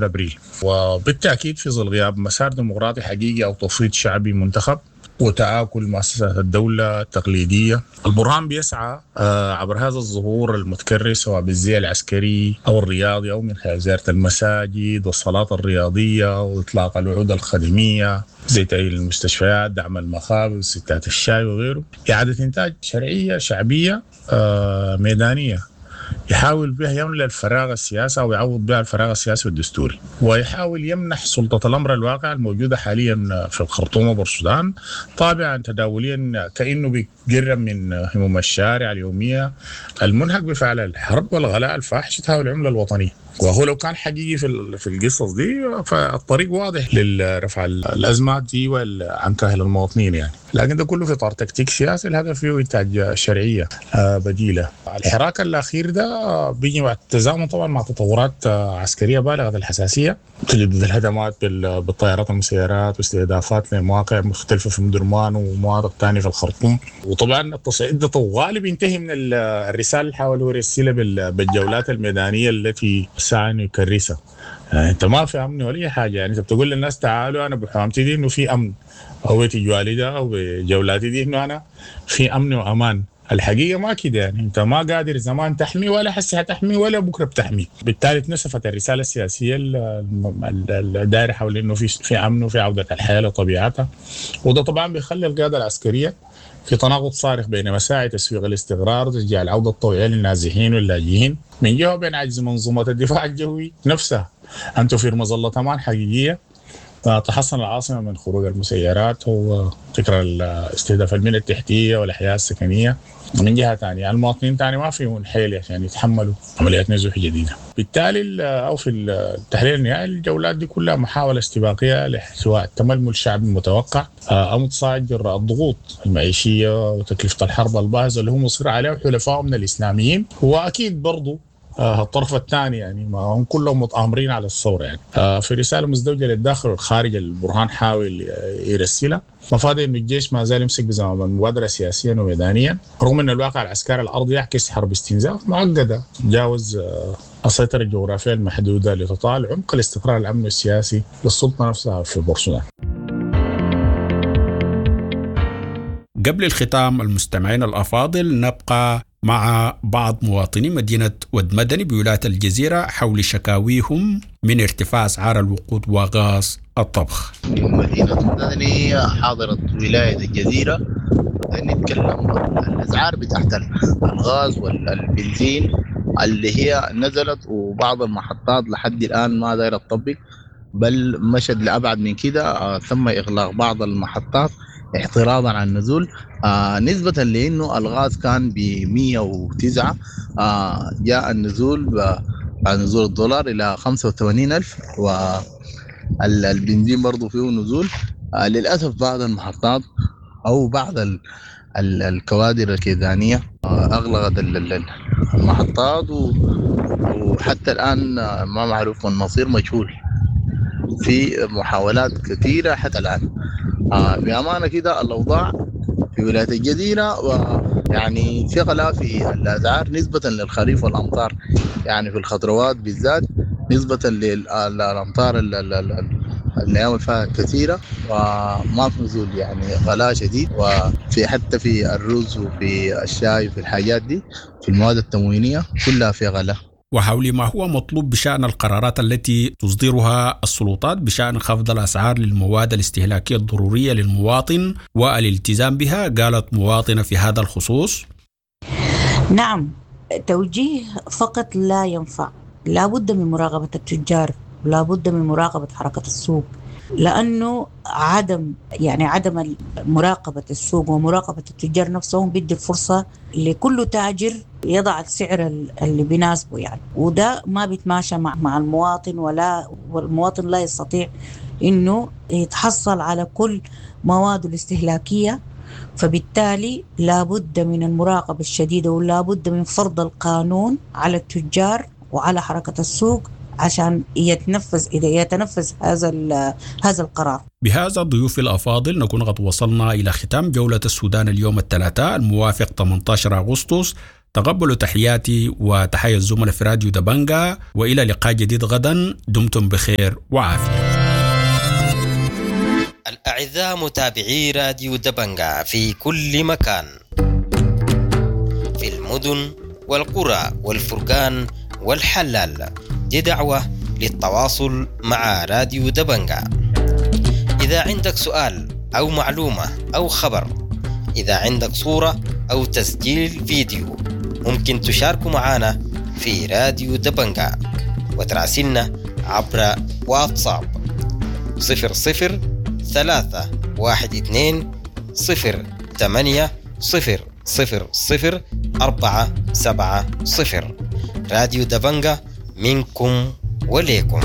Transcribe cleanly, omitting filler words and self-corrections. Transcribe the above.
ابريل. وبالتاكيد في ظل غياب مسار ديمقراطي حقيقي او تفويض شعبي منتخب وتآكل مؤسسات الدولة التقليدية، البرهان بيسعى عبر هذا الظهور المتكرر سواء بالزي العسكري أو الرياضي أو من خلال زيارة المساجد والصلاة الرياضية وإطلاق الوعود الخدمية زي تأهيل المستشفيات، دعم المخابز، ستات الشاي وغيره، إعادة إنتاج شرعية شعبية ميدانية يحاول بها يملأ الفراغ السياسي أو يعوض بها الفراغ السياسي والدستوري، ويحاول يمنح سلطة الأمر الواقع الموجودة حاليا في الخرطوم وبورسودان طابعا تداوليا كأنه بيقرب من هموم الشارع اليومية المنهك بفعل الحرب والغلاء الفاحش تهاوي العملة الوطنية. وهو لو كان حقيقي في القصص دي فالطريق واضح لرفع الازمات دي عن كاهل المواطنين يعني، لكن ده كله في اطار تكتيك سياسي الهدف فيه انتاج شرعية بديله. الحراك الاخير ده بيجي مع التزامن طبعا مع تطورات عسكرية بالغة الحساسية، تجدد الهجمات بالطائرات والمسيرات واستهدافات لمواقع مختلفة في مدرمان ومواقع ثانية في الخرطوم. وطبعا التصعيد ده طوالي بينتهي من الرسالة اللي حاول يرسلها بالجولات الميدانية التي سعى انه يكرسها. يعني انت ما في امن ولا اي حاجة، يعني انت بتقول للناس تعالوا انا بحوامتي دي انه في امن، او تجوالي ده او بجولاتي دي انه انا في امن وامان. الحقيقة ما كده، يعني انت ما قادر زمان تحمي ولا حسي هتحمي ولا بكره بتحمي. بالتالي اتنسفت الرسالة السياسية الدائرة حول انه في امن وفي عوده الحياة لطبيعتها. وده طبعا بيخلي القيادة العسكرية في تناقض صارخ بين مساعي تسويق الاستقرار وتشجيع العودة الطوعيه للنازحين واللاجئين من جهة، وبين عجز منظومة الدفاع الجوي نفسها ان توفير مظلة امان حقيقية تحصن العاصمة من خروج المسيرات وتكرار استهداف البنية التحتية والاحياء السكنية من جهة ثانية. المواطنين ثاني ما فيهم حيل عشان يتحملوا عمليات نزوح جديدة. بالتالي او في التحليل النهائي الجولات دي كلها محاولة استباقية لاحتواء التململ الشعبي المتوقع او تصاعد جراء الضغوط المعيشية وتكلفة الحرب الباهظه اللي هم مصر عليها وحلفائهم من الاسلاميين، واكيد برضه الطرف الثاني يعني ما هم كلهم متآمرين على الثورة يعني. في رسالة مزدوجة للداخل والخارج البرهان حاول يرسلها، مفاد انه الجيش ما زال يمسك بزمام المبادرة سياسيا وميدانيا، رغم ان الواقع العسكري الارضي يعكس حرب استنزاف معقدة تجاوز السيطرة الجغرافية المحدودة لتطال عمق الاستقرار الامني السياسي للسلطة نفسها في بورسودان. قبل الختام المستمعين الأفاضل نبقى مع بعض مواطني مدينة ود مدني بولاية الجزيرة حول شكاويهم من ارتفاع أسعار الوقود وغاز الطبخ. من مدينة مدني حاضرة ولاية الجزيرة نتكلم عن الأسعار بتاعت الغاز والبنزين اللي هي نزلت، وبعض المحطات لحد الآن ما دايرة تطبق، بل مشت لأبعد من كده. تم إغلاق بعض المحطات اعتراضا على النزول، نسبة لأنه الغاز كان ب 109، جاء النزول بعد نزول الدولار إلى 85,000، والبنزين برضو فيه نزول. للأسف بعض المحطات أو بعض الكوادر الكيزانية أغلقت المحطات، وحتى الآن ما معروف المصير، مجهول. في محاولات كثيرة حتى الآن. بأمانة كده الأوضاع في ولاية الجزيرة يعني في غلاء في الأسعار نسبة للخريف والأمطار، يعني في الخضروات بالذات نسبة للأمطار الأيام اللي فاتت كثيرة، وما في نزول، يعني غلاء شديد، وفي حتى في الرز وفي الشاي وفي الحاجات دي، في المواد التموينية كلها في غلاء. وحول ما هو مطلوب بشأن القرارات التي تصدرها السلطات بشأن خفض الأسعار للمواد الاستهلاكية الضرورية للمواطن والالتزام بها، قالت مواطنة في هذا الخصوص: نعم، توجيه فقط لا ينفع، لا بد من مراقبة التجار، لا بد من مراقبة حركة السوق، لأنه عدم مراقبة السوق ومراقبة التجار نفسهم بيدي الفرصة لكل تاجر يضع السعر اللي بيناسبه يعني، وده ما بيتماشى مع المواطن، ولا والمواطن لا يستطيع إنه يتحصل على كل مواده الاستهلاكية. فبالتالي لابد من المراقبة الشديدة، ولابد من فرض القانون على التجار وعلى حركة السوق عشان يتنفذ، إذا يتنفذ هذا القرار. بهذا ضيوف الأفاضل نكون قد وصلنا إلى ختام جولة السودان اليوم الثلاثاء الموافق 18 أغسطس تقبلوا تحياتي وتحيا الزملاء في راديو دبنجا، وإلى لقاء جديد غدا، دمتم بخير وعافية. الأعزاء متابعي راديو دبنجا في كل مكان، في المدن والقرى والفرقان والحلال، دي دعوة للتواصل مع راديو دبنجا. إذا عندك سؤال أو معلومة أو خبر، إذا عندك صورة أو تسجيل فيديو، ممكن تشاركوا معنا في راديو دبنجا وتراسلنا عبر واتساب 00 3 1 2 0 8 0 0 0 4 7 0. راديو دبنجا منكم وليكم.